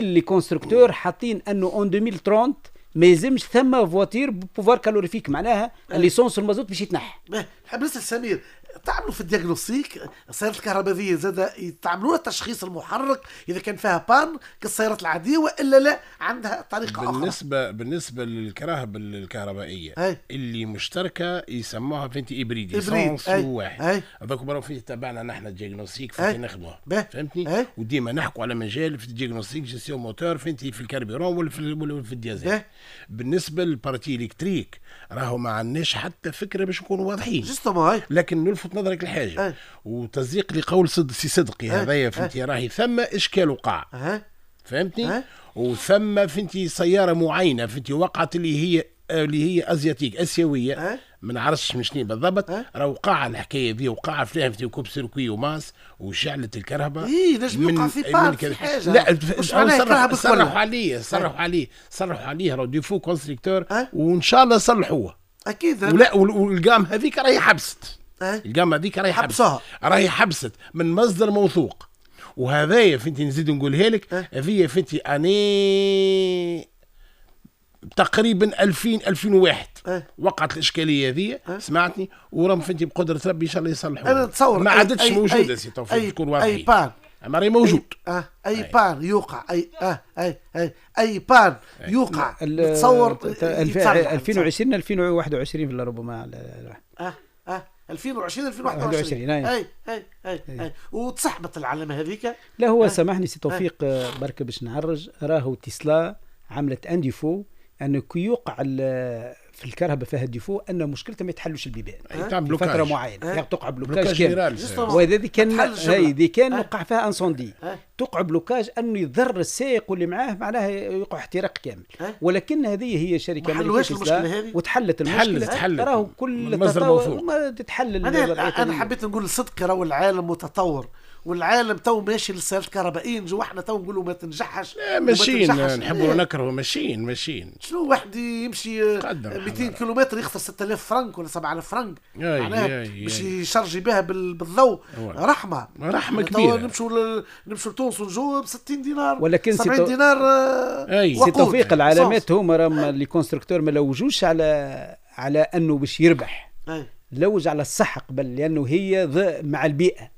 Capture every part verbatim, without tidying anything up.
les constructeurs حاطين انه en ألفين وثلاثين ما يلزمش ثم voiture pouvoir calorifique، معناها l'essence والمازوت باش يتنحى. نحب نسال سمير، تعملوا في ال diagnostic السيارات الكهربائية زاد، تعملوا تشخيص المحرك اذا كان فيها panne كالسيارات العادية والا لا عندها طريقه اخرى؟ بالنسبه بالنسبه للكراهب الكهربائية أي. اللي مشتركة يسموها فهمتي hybride، essence واحد، هذاك برا فيه تبعنا نحن ال diagnostic فهمتي نخدموها، فهمتني؟ وديما نحكوا على مجال في ال diagnostic gestion moteur فهمتي، في ال carburant ولا في ولا في الديزل. بالنسبة لل partie électrique راهو ما عندناش حتى فكرة باش نكونوا واضحين، لكن نلفت نظرك لحاجة وتصديق لقول صد سي صدقي هذايا فهمتي، راهي ثم اشكال وقع فهمتني، وثم فهمتي سيارة معينة فهمتي وقعت اللي هي اللي هي asiatique اسيويه، ما نعرفش من شنو بالضبط، راه وقع الحكاية ذي، وقع فيها في court-circuit وماس وشعلت الكرهبه. اي نجم يوقع في panne في حاجه. لا، صرحوا صرحوا عليه صرحوا عليه صرحوا عليه راه défaut constructeur وان شاء الله صلحوه. اكيد. ولا وال gamme هذيك راهي حبست، ال gamme هذيك راهي حبست، راهي حبست من مصدر موثوق. وهذايا فهمتي نزيد نقولها لك، هذه فهمتي اني تقريبا ألفين ألفين وواحد أه؟ وقعت الاشكالية هذه أه؟ سمعتني؟ ورام فهمتي بقدره ربي ان شاء الله يصلحوا. انا نتصور ما عادتش موجودة سي توفيق، تكون واضحين. اي panne اما راهي موجود. اي, آه اي panne يوقع، اي اه اي اي اي panne يوقع نتصور ألفين وعشرين ألفين وواحد وعشرين ربما. اه اه ألفين وعشرين ألفين وواحد وعشرين. اي اي اي اي, أي. وتسحبت العلامة هذيك. لا هو آه. سامحني سي توفيق آه. بركة باش نعرج، راهو تسلا عملت un défaut انه كي يوقع في الكرهبه فيها défaut ان مشكلتها ما يتحلوش البيبان في فترة معينه، يعني تقع blocage كامل. وهذه كان هذه كان وقع فيها incendie، تقع blocage انه يضر السائق واللي معاه، معناها يقع احتراق كامل. ولكن هذه هي شركة امريكية وتحلت المشكله. تحلت. راهو كل تطور ما تتحل. انا انا حبيت نقول الصدق، راهو العالم متطور والعالم تو ماشي للسيارات الكهربائية، نجو احنا تو نقولوا ما تنجحش. ماشيين، نحبوا نكرهوا ماشيين ماشيين. شنو واحد يمشي مئتين كيلومتر يخسر ستة آلاف فرنك ولا سبعة آلاف فرنك معناها باش يشرجي بها بالضوء، رحمه. رحمه كبيره. نمشوا نمشوا لتونس ونجوا ب ستين دينار، ولكن سبعين دينار. سي توفيق، العلامات هما راهم les constructeurs ما لوجوش على على انه باش يربح، لوج على الصحة قبل لأنه هي مع البيئة.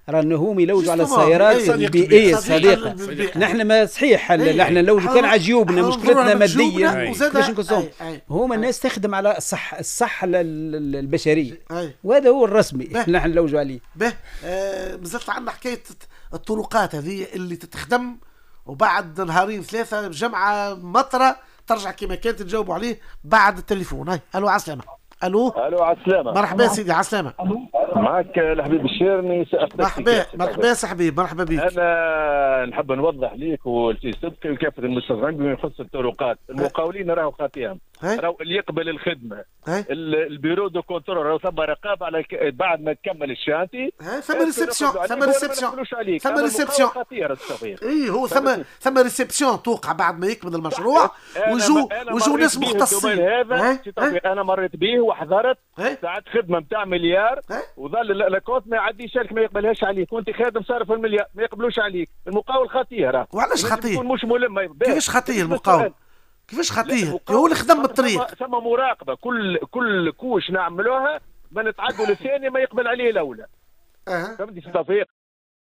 رانا هم يلوجوا على السيارات البيئية الصديقة. نحن ما صحيح نحن نلوجوا كان على جيوبنا، مشكلتنا مادية باش نكونوا. هما الناس تخدم على الصحة، الصحة البشرية، وهذا هو الرسمي نحن نلوجوا عليه. به آه مازالت عندنا حكاية الطرقات هذه اللي تتخدم وبعد نهارين ثلاثة جمعة مطرة ترجع كما كانت. تجاوبوا عليه بعد التليفون. هاي الو، عسلامة، الو. الو، على السلامه. مرحبا سيدي، على السلامه. معك الحبيب الشيرني. مرحبا مرحبا سي حبيب، مرحبا بك. انا نحب نوضح ليك ولسي صدقي وكافة المستمعين بما يخص الطرقات، المقاولين راهو خاطيهم، راهو اللي يقبل الخدمة ال bureau de contrôle، راهو ثم رقابه على بعد ما تكمل ال chantier. ثم réception، ثم réception، ثم réception. اي هو ثم ثم réception توقع بعد ما يكمل المشروع ويجوا ويجوا ناس مختصين. هذا انا مريت به وحضرت ساعات خدمة نتاع مليار وظل l'acompte ما يعديش لك، ما يقبلهاش عليك وانت خادم صارف المليار، ما يقبلوش عليك. المقاول خطير راه. وعلاش خطير؟ مش ملم. كيفاش خطير المقاول؟ كيفاش خطيه؟ هو اللي خدم الطريق. ثم مراقبه، كل كل couche نعملوها ما نتعدوا للثانيه ما يقبل عليه الاولى. أه. فهمتني سي توفيق؟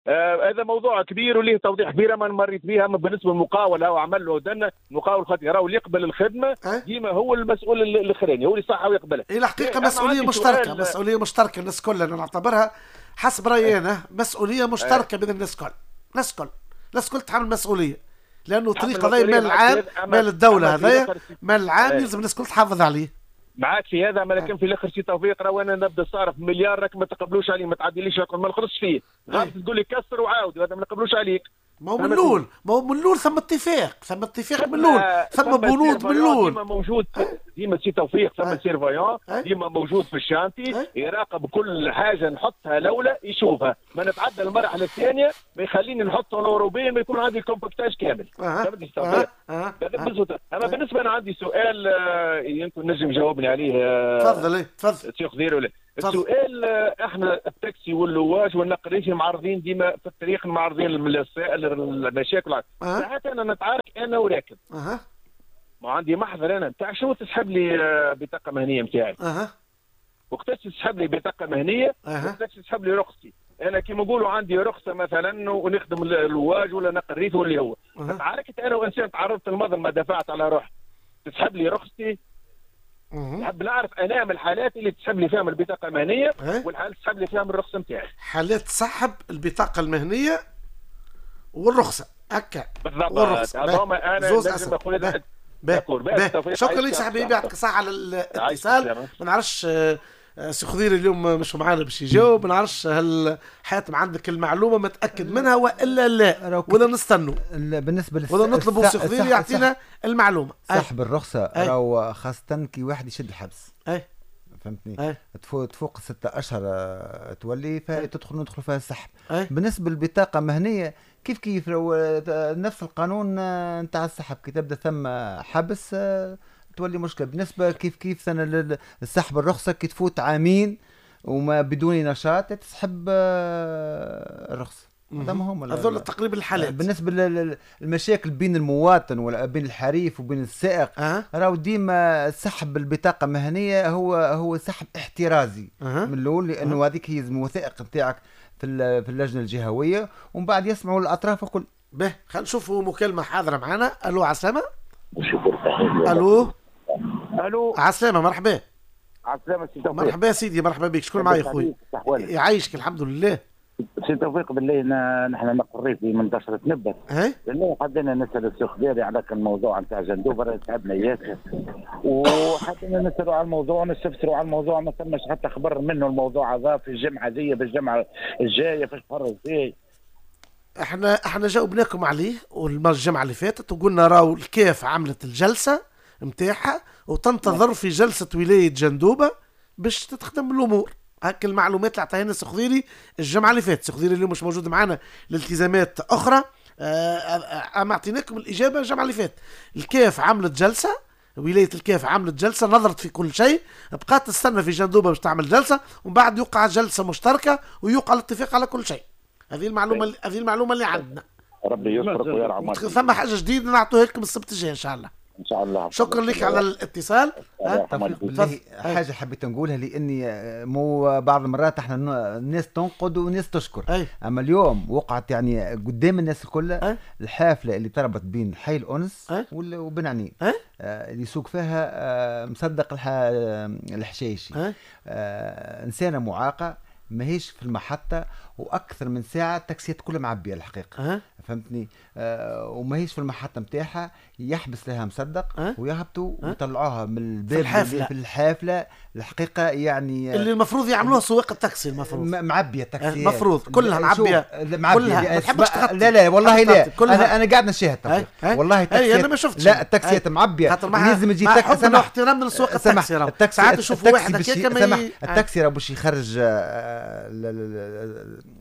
آه هذا موضوع كبير وليه توضيح كبير ما مريت بها. اما بالنسبة للمقاول او عمل له دنا مقاول خطير، راهو اللي يقبل الخدمة ديما هو المسؤول الاخراني، هو اللي صح ويقبلها. هي الحقيقة مسؤولية مشتركه، مسؤولية مشتركة الناس كلها. انا نعتبرها حسب رايي انا مسؤولية مشتركة بين الناس الكل، الناس الكل، الناس الكل تحمل المسؤوليه، لانه الطريق هذا مال العام، مال الدوله، هذايا مال العام، يلزم الناس الكل تحافظ عليه. معاك في هذا، ما لكن في الاخر سي توفيق راهو انا نبدا صارف مليار راك ما تقبلوش عليه، ما تعديليش، ما نخلصش فيه، غلط تقول لي كسر وعاود، هذا ما نقبلوش عليك. ما هو من الاول ما هو من الاول ثم اتفاق، ثم اتفاق من الاول، ثم بنود من الاول. ديما موجود، ديما سي توفيق ثم surveillant ديما موجود في ال chantier يراقب كل حاجة نحطها الاولى يشوفها، ما نتعدى المرحلة الثانية ما يخليني نحط l'enrobé ما يكون عندي ال compactage كامل. فهمتني؟ اما بالنسبة انا عندي سؤال آه، يمكن نجم جاوبني عليه. تفضل. تفضل. سي خضير ولا السؤال، احنا التاكسي واللواج والنقل الريفي معرضين ديما في الطريق، معرضين للمشاكل. أه؟ ساعات انا نتعارك انا وراكب. اها ما عندي محضر انا نتاع شنو تسحب لي بطاقة مهنية نتاعي. اها وقتاش تسحب لي بطاقة مهنية؟ أه؟ وقتاش تسحب لي رخصتي؟ انا كيما نقولوا عندي رخصه مثلا ونخدم اللواج ولا نقل ريفي واللي هو. أه؟ تعاركت انا وانسان تعرضت للمظلمه، دفعت على روحي، تسحب لي رخصتي؟ نحب نعرف انا من الحالات اللي تسحب لي فيها من البطاقة المهنية والحالات تسحب لي فيها من الرخصة نتاعي. حالات تسحب البطاقة المهنية والرخصه هكا بالضبط. انا لازم نقول شكرا لك صاحبي، يعطيك الصحة على الاتصال. ما نعرفش سي خضير اليوم مش معانا باش يجاوب، ما نعرفش هل حاتم عندك المعلومة متاكد منها والا لا، ولا نستنوا بالنسبة للس... ولا نطلبوا سي خضير يعطينا المعلومة. سحب الرخصة راهو خاصة كي واحد يشد الحبس. اي فهمتني، تفوق ستة اشهر تولي فتدخل ندخل فيها السحب. أي. بالنسبة للبطاقه المهنية كيف كيف نفس القانون نتاع السحب، كي تبدا ثم حبس تولي مشكلة. بالنسبة كيف كيف سنة السحب الرخصة كي تفوت عامين وما بدون نشاط تسحب الرخصة. هذا هذول تقريبا الحالات. بالنسبة للمشاكل بين المواطن ولا بين الحريف وبين السائق، أه؟ راهو ديما سحب البطاقة المهنية هو هو سحب احترازي أه؟ من الاول، لانه أه؟ هذيك هي الوثائق نتاعك في في اللجنة الجهوية، ومن بعد يسمعوا الاطراف الكل. به خلينا نشوفوا مكالمة حاضره معنا. الو عسلامة. الو الو عسلامة، مرحبا. عسلامة سي توفيق. مرحبا سيدي، مرحبا بك. شكون معايا خويا؟ يعيشك الحمد لله. سي توفيق بالله نحن نقري في منتصرة نبت. بالله حبينا نسأل السي خضيري على الموضوع نتاع جندوبة، تعبنا ياسر وحبينا نسألوا على الموضوع ونستفسروا على الموضوع، ما ثمش حتى خبر منه الموضوع هذا في الجمعة ذي بالجمعة الجاية في الشهر الجاي. احنا احنا جاوبناكم عليه والمرة الجمعة اللي فاتت وقلنا راهو الكاف عملت الجلسة نتاعها وتنتظر في جلسة ولاية جندوبة باش تتخدم الأمور. هاك المعلومات اللي عطاها لنا سي خضيري الجمعة اللي فاتت. سي خضيري اليوم مش موجود معنا لالتزامات اخرى، اما اعطيناكم الاجابة الجمعة اللي فاتت. الكاف عملت جلسه، ولاية الكاف عملت جلسه، نظرت في كل شيء، بقات تستنى في جندوبه باش تعمل جلسه، ومن بعد يوقع جلسه مشتركة ويوقع الاتفاق على كل شيء. هذه المعلومة، هذه المعلومة اللي عندنا. ربي يسترك ويرعى. ثم حاجة جديدة نعطوها لكم السبت الجاي ان شاء الله. ان شاء الله. شكرا لك على الاتصال. بالله حاجة حبيت نقولها، لاني مو بعض المرات احنا الناس تنقد وناس تشكر. أي. اما اليوم وقعت يعني قدام الناس الكل الحافلة اللي تربط بين حي الانس وبن عنين، آه، اللي يسوق فيها آه، مصدق الحشايشي، آه، انسانه معاقه ماهيش في المحطة، وأكثر من ساعة التاكسيات كلها معبية الحقيقة. أه؟ فهمتني، آه وماهيش في المحطة نتاعها، يحبس لها مصدق أه؟ ويهبطوا أه؟ ويطلعوها من الباب في الحافلة. في الحافلة الحقيقة يعني اللي المفروض يعملوها سواق التاكسي، المفروض معبية التاكسيات، المفروض كلها معبية، كلها ما تحبش تغطي. لا لا والله لا، أنا أنا قاعد نشاهد والله التاكسيات. أنا ما شفتش لا التاكسيات معبية، لازم تجي تاكسي. مع احترام لسواق التاكسي، ساعات نشوفوا واحد هكاك التاكسي راه باش يخرج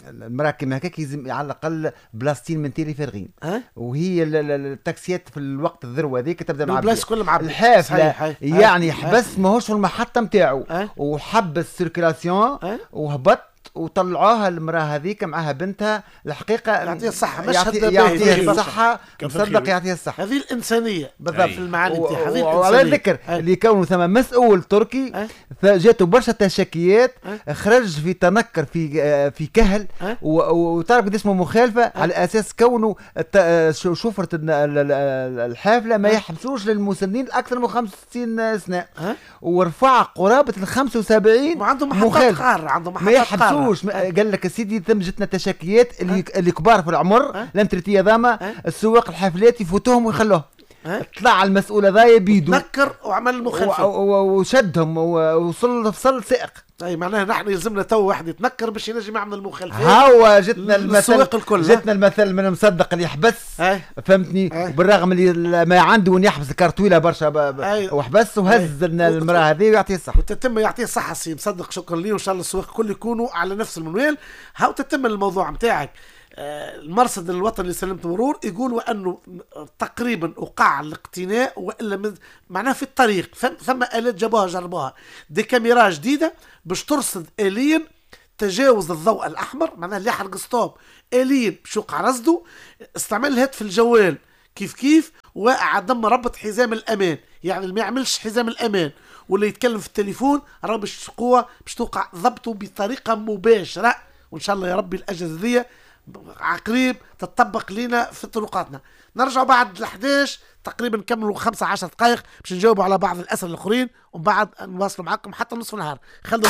المراكب هكاك يلزم على الاقل بلاصتين من تيلي فارغين. أه؟ وهي التاكسيات في الوقت الذروة هذيك تبدا معبيه، البلاص كل معبيه. الحافلة يعني حبس ماهوش في المحطة نتاعو، وحبس circulation وهبط وطلعوها المراة هذيك معها بنتها. الحقيقة يعطيها الصحة، مشهد يعطيها الصحة، مصدق يعطيها الصحة. هذه الانسانية بالضبط في المعاني نتاعها، هذه الانسانية. وعلى ذكر اللي كونه ثم مسؤول تركي فجاته برشا تشكيات، خرج في تنكر في في كهل وتعرف قد اسمه مخالفة على اساس كونه شفرة الحافلة ما يحبسوش للمسنين اكثر من خمسة وستين سنة، ورفع قرابة ال خمسة وسبعين. وعندهم محطات قارة، عندهم محطات قارة. قال لك سيدي ثم جتنا تشكيات اللي اللي كبار في العمر l'retraité ذاما السواق الحافلات يفوتوهم ويخلوهم. طلع المسؤول هذا بيدو نكر وعمل المخالفة وشدهم ووصل فصل سائق. اي معناها نحن يلزمنا تو واحد يتنكر باش ينجم يعمل المخالفات. هاو جتنا المثل، الكل. جتنا المثل من مصدق اللي يحبس، فهمتني، بالرغم اللي ما عنده وين يحبس الكار طويلة برشا وحبس وهز المراة هذه ويعطيه الصحة. وتتم يعطيه الصحة سي مصدق، شكرا ليه، وان شاء الله السواق الكل يكونوا على نفس المنوال. هاو تتم الموضوع نتاعك. آه، المرصد الوطني لسلامة المرور يقولوا انه تقريبا وقع الاقتناء والا معناها في الطريق ثم الات جابوها جربوها، des caméras جديدة باش ترصد اليا تجاوز الضوء الاحمر، معناها اللي يحرق stop اليا باش يوقع رصده، استعمال الهاتف الجوال كيف كيف، وعدم ربط حزام الامان، يعني اللي ما يعملش حزام الامان ولا يتكلم في التليفون راه باش قوة باش توقع ضبطه بطريقة مباشرة. وان شاء الله يا ربي الاجهزة ذي عقريب تطبق لنا في طرقاتنا. نرجع بعد ال الحداش تقريبا، نكملوا خمسة عشر دقائق باش نجاوبوا على بعض الاسئلة الاخرين، ومن بعد نواصلوا معكم حتى نصف النهار. خلوا